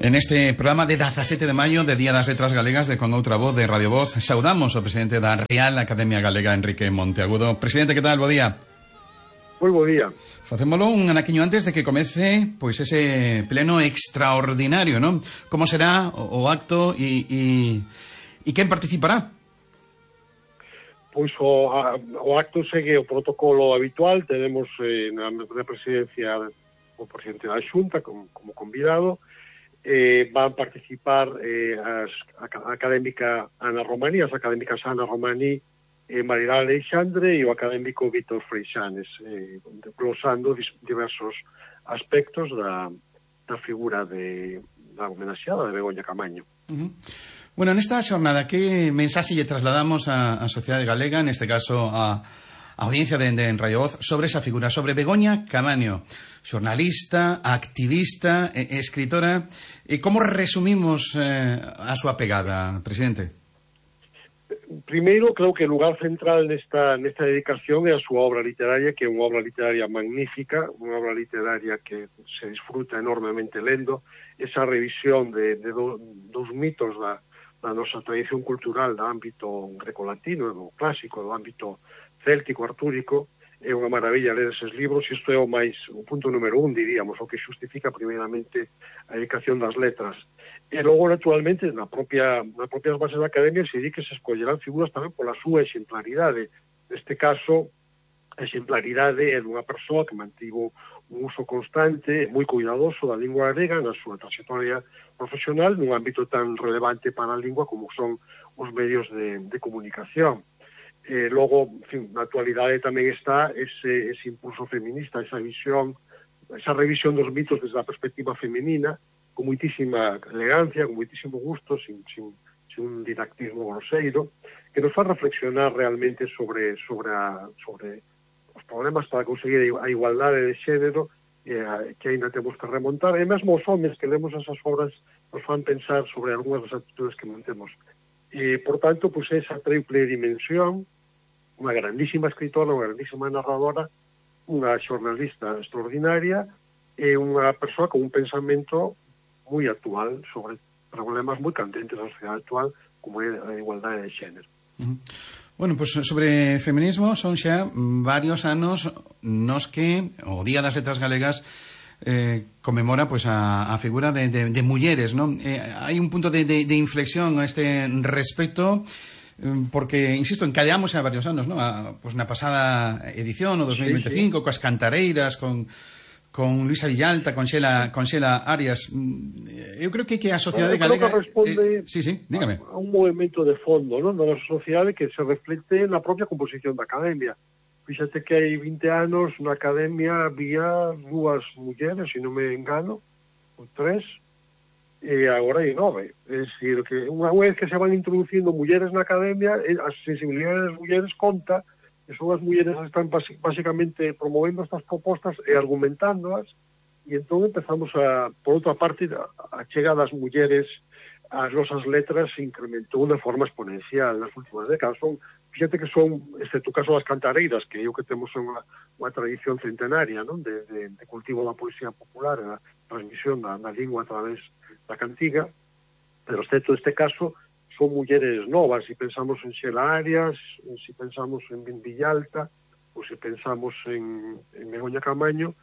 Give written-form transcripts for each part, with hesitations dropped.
En este programa de 17 de maio, de Día das Letras Galegas, de Con Outra Voz, de Radio Voz, saudamos ao presidente da Real Academia Galega, Enrique Monteagudo. Presidente, que tal? Bo día. Moi bo día. Facémolo un anaquiño antes de que comece pois ese pleno extraordinario, non? Como será o acto e quen participará? Pois o acto segue o protocolo habitual. Tenemos na presidencia o presidente da Xunta como convidado. Van participar a académica Ana Romaní, as académicas Ana Romaní, Marilá Alexandre e o académico Víctor Freixanes, glosando diversos aspectos da figura da homenaxeada de Begoña Camaño. Bueno, nesta xornada, que mensaxe lle trasladamos á sociedade galega, neste caso a audiencia de Radio Voz, sobre esa figura, sobre Begoña Camaño, xornalista, activista, escritora? E como resumimos a súa pegada, presidente? Primeiro, creo que o lugar central nesta dedicación é a súa obra literaria, que é unha obra literaria magnífica, unha obra literaria que se disfruta enormemente lendo. Esa revisión de dos mitos da nosa tradición cultural do ámbito grecolatino, do clásico, do ámbito céltico, artúrico. É unha maravilla ler eses libros, e isto é o punto número 1, diríamos, o que xustifica primeiramente a dedicación das letras. E logo, naturalmente, nas propias bases da academia se di que se escollerán figuras tamén pola súa exemplaridade. Neste caso, a exemplaridade é dunha persoa que mantivo un uso constante, moi cuidadoso da lingua galega na súa trayectoria profesional nun ámbito tan relevante para a lingua como son os medios de comunicación. Logo, en fin, na actualidade tamén está ese impulso feminista, esa revisión dos mitos desde a perspectiva femenina, con moitísima elegancia, con moitísimo gusto, sin un didactismo groseiro, que nos fa reflexionar realmente sobre os problemas para conseguir a igualdade de xénero que ainda temos que remontar, e mesmo os homens que lemos esas obras nos fan pensar sobre algunhas das actitudes que mantemos. E, por tanto, pues, esa triple dimensión, unha grandísima escritora, unha grandísima narradora, unha xornalista extraordinaria e unha persoa con un pensamento moi actual sobre problemas moi candentes da sociedade actual, como é a igualdade de xénero. Bueno, pues sobre feminismo son xa varios anos nos que o Día das Letras Galegas conmemora pues a figura de mulleres, ¿no? Hai un punto de inflexión a este respecto, porque, insisto, encadeamos a varios anos, ¿no? Pues na pasada edición, o 2025, coas cantareiras, con Luisa Villalta, con Xela Arias. Eu creo que a sociedade galega responde dígame. A un movimento de fondo, ¿no?, da nosa sociedade que se reflecte na propia composición da academia. Fíxate que hai 20 anos na academia había 2 mulleres, se non me engano, ou 3, e agora hai 9. É dicir, que unha vez que se van introducindo mulleres na academia, a sensibilidade das mulleres conta, e son as mulleres que están basicamente promovendo estas propostas e argumentándoas, e entón empezamos por outra parte, a chegada das mulleres ás nosas letras se incrementou de forma exponencial nas últimas décadas. Fíjate que son, excepto o caso das cantareiras, que é o que temos unha tradición centenaria, non, de cultivo da poesía popular e da transmisión da lingua a través da cantiga, pero excepto este caso son mulleres novas. Se pensamos en Xela Arias, se pensamos en Villalta, ou se pensamos en Begoña Camaño,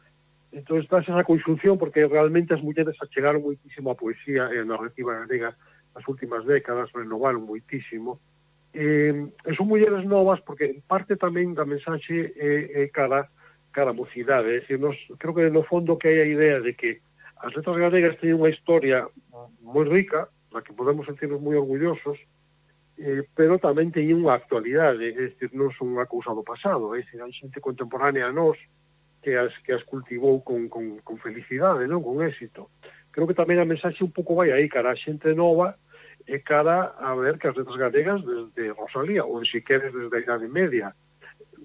entón está esa conxunción, porque realmente as mulleres achegaron moitísimo a poesía e a narrativa galega nas últimas décadas, renovaron moitísimo, e son mulleres novas porque parte tamén da mensaxe é cara a mocidade. É dicir, creo que no fondo que hai a idea de que as letras galegas teñen unha historia moi rica, na que podemos sentirnos moi orgullosos, pero tamén teñen unha actualidade, é dicir, non son unha cousa do pasado, é dicir, hai xente contemporánea a nós que as cultivou con felicidade, non, con éxito. Creo que tamén a mensaxe un pouco vai aí, cara a xente nova, e cara a ver que as letras galegas desde Rosalía, ou se queres desde a Idade Media,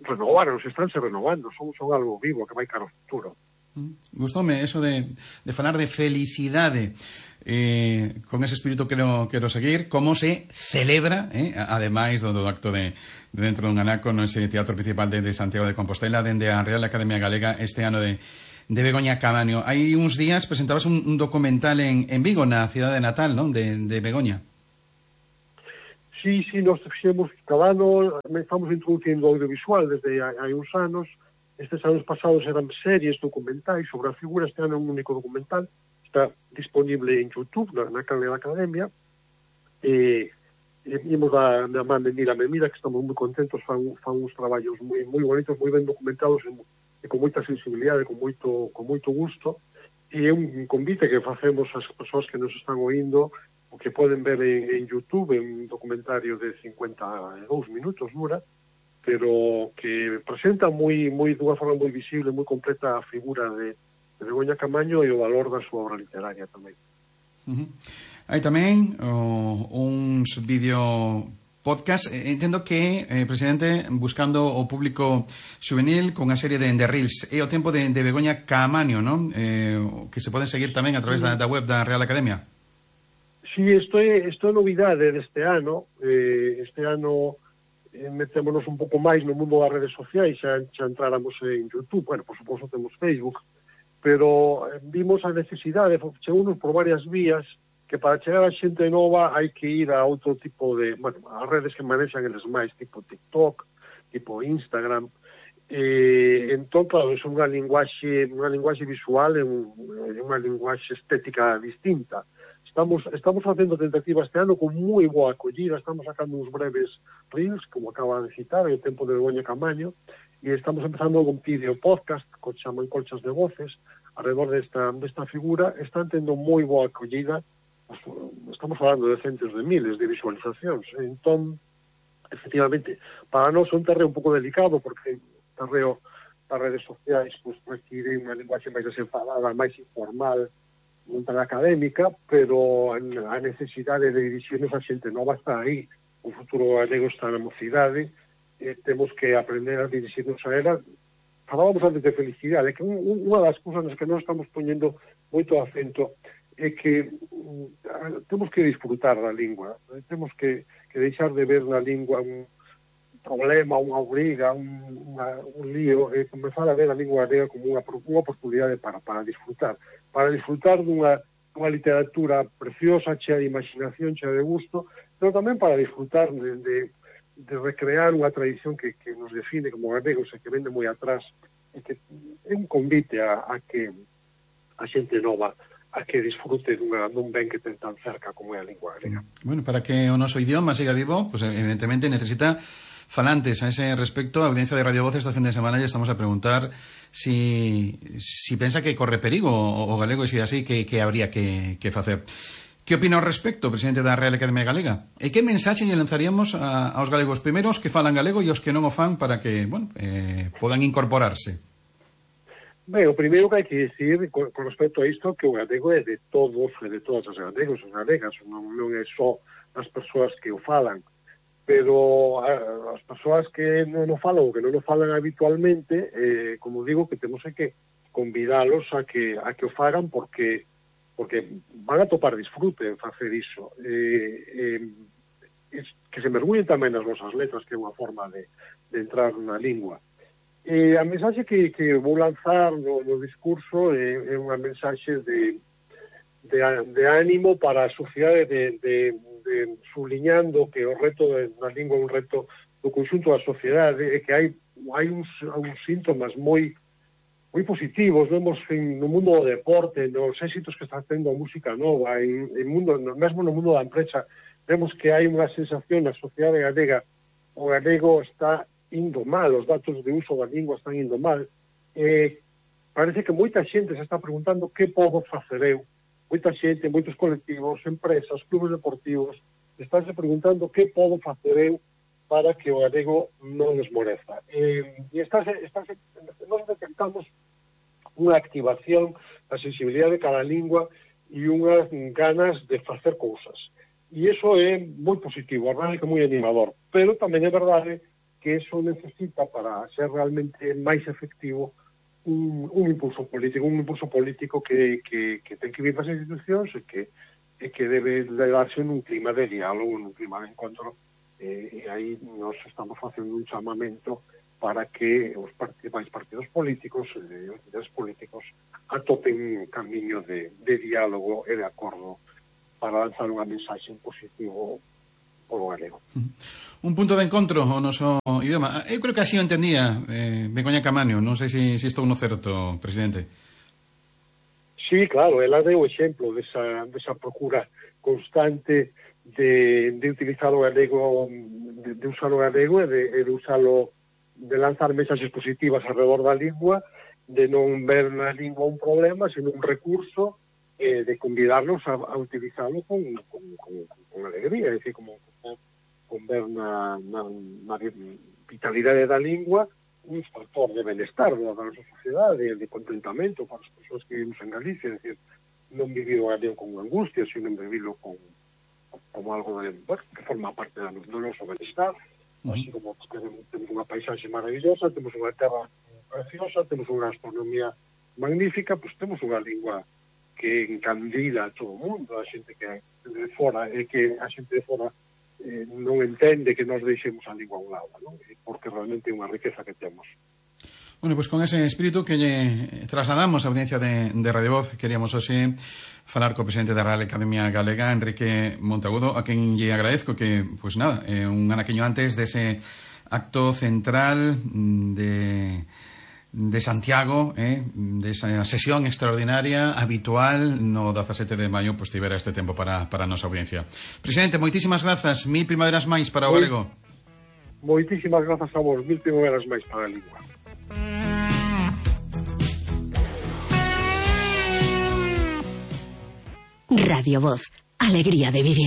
renovaron, se renovando, son algo vivo que vai cara ao futuro. Gustoume eso de falar de felicidade, con ese espírito quero seguir. Como se celebra, ademais do acto de dentro dun anaco no ese teatro principal de Santiago de Compostela, dende a Real Academia Galega, este ano de de Begoña Caamaño. Hai uns días presentabas un documental en Vigo, na cidade natal, non? De Begoña. Sí, nós fixemos cada ano, estamos introducindo audiovisual desde hai uns anos. Estes anos pasados eran series documentais sobre a figura. Este ano é un único documental, está disponible en YouTube, na canal da Academia. Imos da man de Mira, que estamos moi contentos, fan uns traballos moi bonitos, moi ben documentados e con moita sensibilidade, con moito gusto. E é un convite que facemos ás persoas que nos están oindo, o que poden ver en YouTube, en un documentario de 52 minutos dura, pero que presenta dunha forma moi visible, moi completa a figura de Begoña Caamaño e o valor da súa obra literaria tamén. Hai tamén uns vídeo podcast. Entendo que, presidente, buscando o público juvenil con a serie de Reels, é o tempo de Begoña Caamaño, non? Que se poden seguir tamén a través da web da Real Academia. Sí, isto é novidade deste ano. Este ano metémonos un pouco máis no mundo das redes sociais, xa entráramos en YouTube, bueno, por suposto temos Facebook, pero vimos a necesidade, chegounos por varias vías, que para chegar a xente nova hai que ir a outro tipo de, bueno, as redes que manexan eles máis, tipo TikTok, tipo Instagram. Entón, claro, é unha linguaxe visual e unha linguaxe estética distinta. Estamos facendo tentativa este ano con moi boa acollida. Estamos sacando uns breves reels, como acaba de citar, o tempo de Begoña Caamaño, e estamos empezando un vídeo podcast que chaman Colchas de Voces alrededor desta figura. Están tendo moi boa acollida. Estamos falando de centos de miles de visualizacións. Entón, efectivamente, para nós é un terreo un pouco delicado, porque o terreo das redes sociais pues, require unha linguaxe máis desenfadada, máis informal, non tan académica, pero a necesidade de dirixirnos a xente nova está aí. O futuro galego está na mocidade, temos que aprender a dirixirnos a ela. Falábamos antes de felicidade, que unha das cousas nas que non estamos poñendo moito acento é que temos que disfrutar da lingua, temos que deixar de ver na lingua un problema, unha obriga, un lío, e comezar a ver a lingua galega como unha oportunidade para disfrutar dunha literatura preciosa, chea de imaginación, chea de gusto, pero tamén para disfrutar de recrear unha tradición que nos define como galegos e que vende moi atrás, e que é un convite a que a xente nova a que disfrute dun ben que ten tan cerca como é a lingua galega. Bueno, para que o noso idioma siga vivo, pues evidentemente necesita falantes. A ese respecto, a audiencia de Radio Voz esta fin de semana ya estamos a preguntar si pensa que corre perigo o galego, e se así, que habría que facer. Que opina ao respecto, presidente da Real Academia Galega? E que mensaxe lle lanzaríamos aos galegos primeiros que falan galego e aos que non o fan para que, bueno, podan incorporarse? Ben, o primeiro que hai que dicir con respecto a isto, que o galego é de todos e de todas as galegos e galegas, non é só as persoas que o falan, pero as persoas que non o falan ou que non o falan habitualmente, como digo, que temos que convidalos a que o fagan porque van a topar disfrute en facer iso. Que se mergullen tamén nas nosas letras, que é unha forma de entrar na lingua. A mensaxe que vou lanzar no discurso é unha mensaxe de ánimo para a sociedade, de subliñando que o reto da lingua é un reto do conxunto da sociedade, e que hai uns síntomas moi positivos. Vemos no mundo do deporte, nos éxitos que está tendo a música nova, mesmo no mundo da empresa, vemos que hai unha sensación na sociedade galega. O galego está indo mal, os datos de uso da lingua están indo mal. Parece que moita xente se está preguntando que podo facer eu. Moita xente, moitos colectivos, empresas, clubes deportivos, estánse preguntando que podo facer eu para que o galego non esmoreza. Nós detectamos unha activación da sensibilidade de cada lingua e unhas ganas de facer cousas. E iso é moi positivo, a verdade que é moi animador. Pero tamén é verdade que eso necesita, para ser realmente máis efectivo, un impulso político que ten que vir das institucións e que debe darse nun clima de diálogo, nun clima de encontro, e aí nós estamos facendo un chamamento para que os partidos políticos e os líderes políticos atopen un camiño de diálogo e de acordo para lanzar unha mensaxe en positivo polo galego. Un punto de encontro ao noso idioma. Eu creo que así o entendía Begoña Caamaño. Non sei se estou no certo, presidente. Sí, claro, ela deu exemplo desa procura constante de utilizar o galego, de usar o galego e de usalo, de lanzar mensaxes positivas alrededor da lingua, de non ver na lingua un problema, sino un recurso, de convidarnos a utilizarlo con alegría, é dicir, con ver na vitalidade da lingua un factor de benestar da nosa sociedade, de contentamento para as persoas que vivimos en Galicia, é dicir, non vivir o galego con angustia, sino vivirlo como algo que forma parte do noso benestar, así como temos unha paisaxe maravillosa, temos unha terra preciosa, temos unha gastronomía magnífica, pois temos unha lingua que encandila a todo o mundo, a xente que de fora, e que a xente de fora non entende que nos deixemos a lingua a un lado, non? Porque realmente é unha riqueza que temos. Bueno, pues con ese espírito que lle trasladamos a audiencia de Radio Voz, queríamos hoxe falar co presidente da Real Academia Galega, Enrique Monteagudo, a quen lle agradezco que, pues nada, un anaquiño antes dese acto central de Santiago, desa sesión extraordinaria habitual no 17 de maio, pues tivera este tempo para a nosa audiencia. Presidente, moitísimas grazas, 1000 primaveras máis para o galego. Moitísimas grazas a vos, 1000 primaveras máis para a lingua. Radio Voz, alegría de vivir.